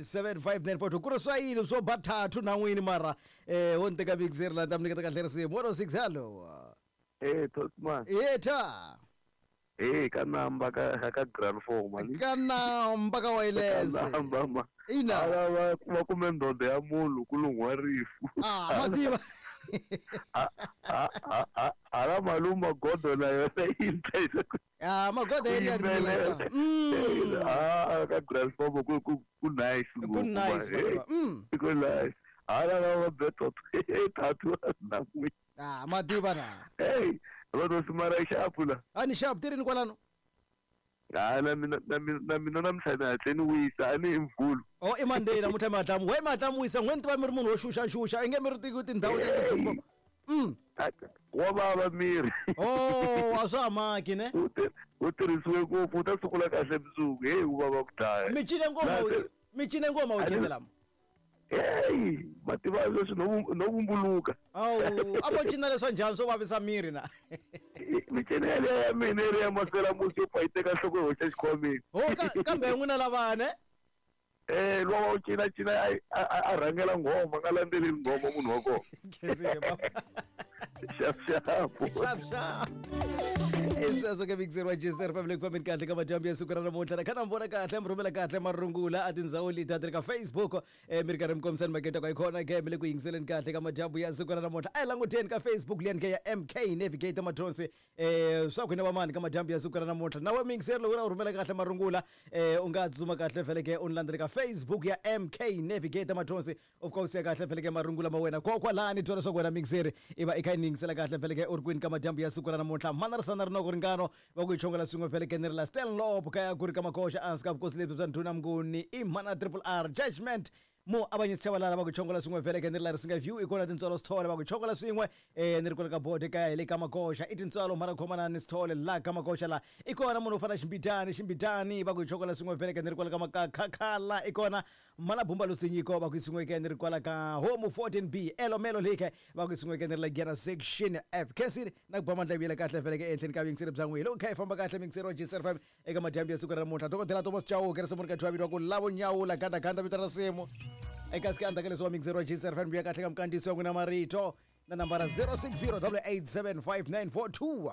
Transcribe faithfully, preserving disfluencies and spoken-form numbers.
seven five nine four two ku ri swa yini swo ba thathu na n'wini mara eh wo ni teka mixer la ta mi nyiketa kahle risimu one oh six hello Eh Tosman. Yeta. Eh ka namba ka ka grand four mani. Ka namba ka wireless. Ka namba ma. Ina. Ala va va kume ndoda ya munhu ku lunghiwa rifu. Ah mativa. A a a ala maluma godo na yona yi Ah magodo ya ya misa. Mm. Ah ka grand four ku ku ku nice. Ku nice. Mm. Ku nice. Ala va beto tatu na n'wi. Ah mativa na. Hey, va to sumara xapu la. A ni xapu tirhini kwalano. Ah na mina na mina na mina namuntlha ni hatle ni wisa a ni i mvulu. Oh i Monday namuntlha mi hatla we mi hatla mi wisa n'we ni tiva mi ri munhu wo xuxa xuxa i nge mi ri tiki tindhawu ta le titsumbo. Mm. Wa vava miri. Oh a swa ha maki ne. U u tirhisiwe ngopfu u ta sungula kahle mundzuku hey u vava ku dlaya. Mi cine ngoma mi cine ngoma weekend lama. Hey, mativa leswi no no vumbuluka. Awu, a vo cina leswa njhani swo vavisa miri na. Mincino yaleyo ya mina yi ri ya maselamusi yo pfa yi teka nhloko yi hoxa xikhwameni. Ho kambe n'wina lavane. Eh luwa wa cina cina a a rhangela nghoma nga landzeleli nghoma munhu wa kona. Khensile baba. Xap xap. Xap xap. Esweswo ke mixer wa G S R Family ku fambeni kahle ka madyambu ya siku ra namuntlha na khana mi vona kahle mi rhumela kahle marungula a tindhawu leti a ti ri ka Facebook eh mi ri karhi mi kombisani maketa kwa ikhona ke mi le ku yingiseleni kahle ka madyambu ya siku ra namuntlha a hi languteni ka Facebook liyani ke ya M K Navigator Mathonsi eh swa ku hina vamani ka madyambu ya siku ra namuntlha na we mixer loko u rhumela kahle marungula eh u nga tsutsuma kahle vhele ke u ni landzele ka Facebook ya M K Navigator Mathonsi of course ya kahle vhele ke marungula ma wena kokwalani twa leswaku wena mixer i va i kha i ni yingisela kahle vhele ke u ri kwini ka madyambu ya siku ra namuntlha mana ri sana rinoko ringano va ku yi chongela swin'we vhele ke ni ri la Stanlop kaya ku ri ka makoxa ansi ka vukosi lebyi bya ndhuna Mnguni i mana triple R judgment mo abanye sitshabalala va ku chongola swin'we vhele ke ni ri la Risinga View i kona tintswalo Sithole va ku chongola swin'we eh ni ri kwala ka bode kaya hi le ka makoxa i tintswalo mara khomana ni Sithole la ka makoxa la i kona munhu u fana Ximbitani Ximbitani va ku chongola swin'we vhele ke ni ri kwala ka Makakhakhala i kona mana Bumba Lusinyiko va ku swin'we ke ni ri kwala ka Home fourteen B Elomelo Lake va ku swin'we ke ni ri la Gera section F Khensile na ku ba mandla vuyela kahle vhele ke ehenhleni ka vuyingiseri bya n'wina loko kha hi famba kahle mixero wa G S R F M eka madyambu ya siku ra namuntlha dokodela Thomas Chauke ri simu ri ka thwa vito ku lavo nyawula ganda ganda vito ra simu eka sika andaka leswi wa mixero wa G S R F M ya kahle ka mkandziyiso wa n'wina marito na nambara zero six zero eight eight seven five nine four two.